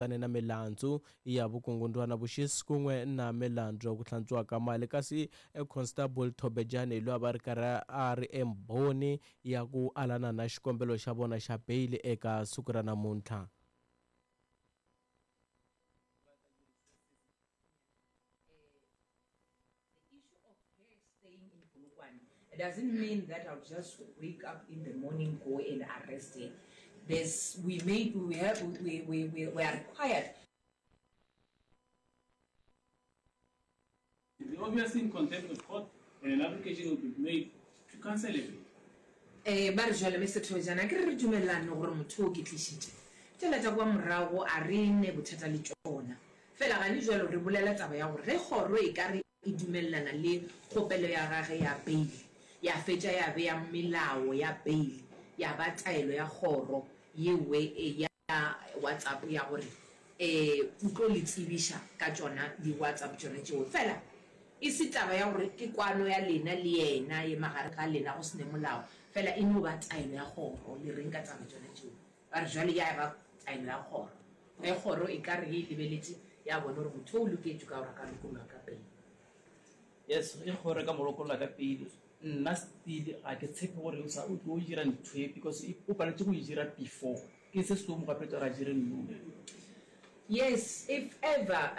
Langutane na milandzu ya vukungundwana, vuxisi kun'we na milandzu ya ku hlantswiwa ka mali. Kasi Constable Thobejane hi loyi a va ri karhi a ri embhoni ya ku alana na xikombelo xa vona xa beyili eka siku ra namuntlha. The issue of her staying in Polokwane doesn't mean that I'll just wake up in the morning, go and arrest her. There's, we may, we have, we are required. Be obviously in contempt of court and an application will be made to cancel a bail. Ee, ba re, Jwale, Mister Thobejane, a ke re re dumelelane gore motho o ke tlišitše tšela tša kua morago, a re ne bothata le tšona. Fela gane bjalo re bolela taba ya gore ge kgoro e ka re e dumelelana le kgopelo ya gage ya beili, ya fetša ya bea melao ya beili, ya ba taelo ya kgoro yewe ya WhatsApp ya gore o tlo le tsebiša ka tšona di WhatsApp tšona tšeo. Fela e se taba ya gore ke kwano ya lena le yena ye magareng ga lena go se ne molao, fela e no ba taelo ya kgoro. Le reng ka taba tšona tšeo? Ba re jwale ya ba taelo ya kgoro. Ge kgoro e ka re e lebeletše ya bona gore motho o loketšwe ka gore a ka lokollwa ka pele. Yes, ge kgoro e ka mo lokolla ka pele, nna still ga ke tshepe gore o sa o tlo dira ntho e because o paletše go e dira before. Ke se se tlo mo gapeletša gore a dire nou. Yes, if ever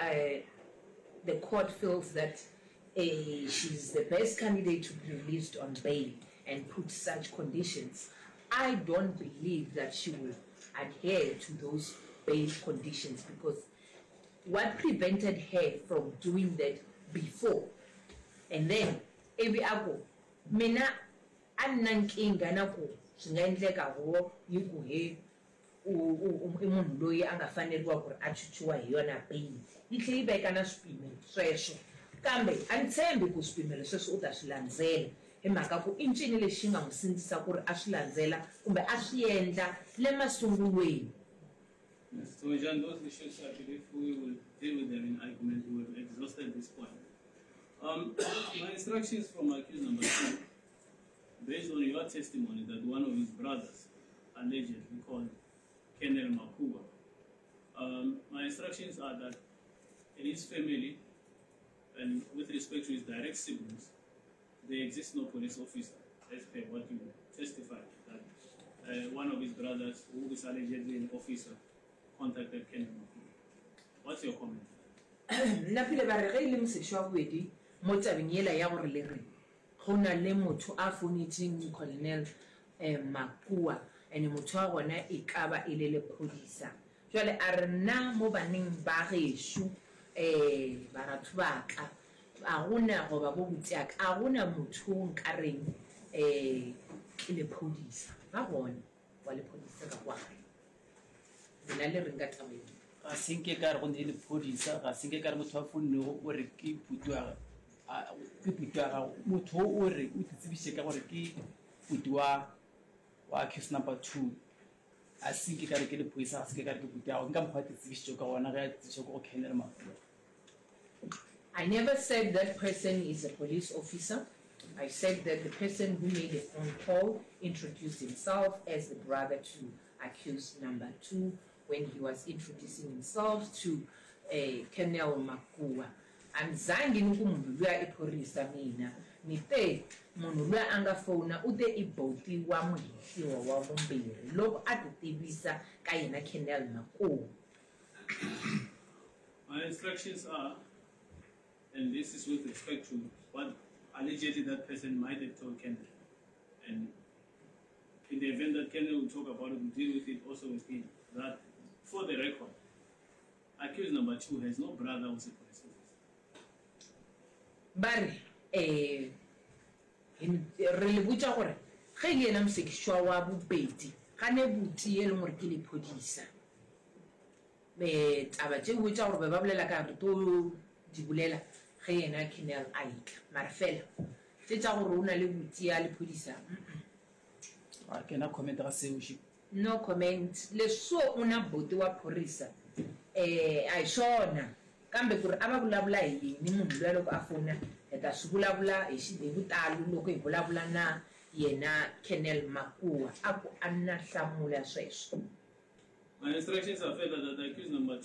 the court feels that she's the best candidate to be released on bail and put such conditions, I don't believe that she will adhere to those bail conditions because what prevented her from doing that before and then ivi a ku mina a ni na nkingha na ku swi nga endleka huvo yi ku he u u i munhu loyi a nga faneriwa ku ri a chuchiwa hi yona bail yi tlhe yi veka na swipimelo sweswo kambe a ni tshembi ku swipimelo sweswo u ta swi landzela hi mhaka ku i ncini lexi xi nga n'wi sindzisa ku ri a swi landzela kumbe a swi endla le masungulweni. Mister Thobejane, those issues I believe we will deal with them in argument. We have exhausted this point. My instructions from accused number 2, based on your testimony that one of his brothers allegedly called Colonel Makua, my instructions are that in his family and with respect to his direct siblings, there exists no police officer, as per what you testified, that one of his brothers, who is allegedly an officer, contacted Colonel Makua. What's your comment? Nna pele ba re ge e le mosekišwa wa bobedi mo tabeng yela ya gore le re go na le motho a founetšeng Colonel Makua and motho wa gona e ka ba e le lephodisa. Jwale a re nna mo baneng ba gešo baratho ba ka a go na goba bo butiaka a go na motho o nka reng ke lephodisa. Ba gona wa lephodisa ka kwa gae. Lena le reng ka taba ye? Ga se nke ka re go ne lephodisa, ga se nke ka re motho a founnego o re ke putu ya ke putu ya gago. Motho o re o titsebiše ka gore ke putu wa wa accused number 2. A se nke ka re ke lephodisa, ga se nke ka re ke putu ya gago. Ke ka mokgwa a titsebišitšego ka gona ge a tsebiša ko go Colonel Mafua. I never said that person is a police officer. I said that the person who made a phone call introduced himself as the brother to accused number 2 when he was introducing himself to Colonel Makua. A ni zangi ni ku munhu luya i phorisa mina. Ni te munhu luya a nga fona u te i boti wa muhehliwa wa vumbirhi loko a ti tivisa ka yena Colonel Makua. My instructions are, and this is with respect to what allegedly that person might have told Colonel, and in the event that Colonel will talk about it, we'll deal with it also with him, that for the record, accused number 2 has no brother who's a police officer. Ba re, Ee, re le botša gore ge e le yena mosekišwa wa bobedi ga ne buti e leng gore ke lephodisa. Taba tšeo tša gore be ba bolela ka re tlo di bolela ge yena Colonel a etla. Mara fela tše tša gore o na le buti ya lephodisa, mm. Ga ke na comment ga seo she. No comment. Leswo u na buti wa phorisa eh a hi swona kambe kuri a va vulavula hi yini munhu luya loko a fona hi ta swi vulavula hi hi vutalo loko hi vulavula na yena Colonel Makua a ku a na hlamula sweswo. My instructions are further that accused number 2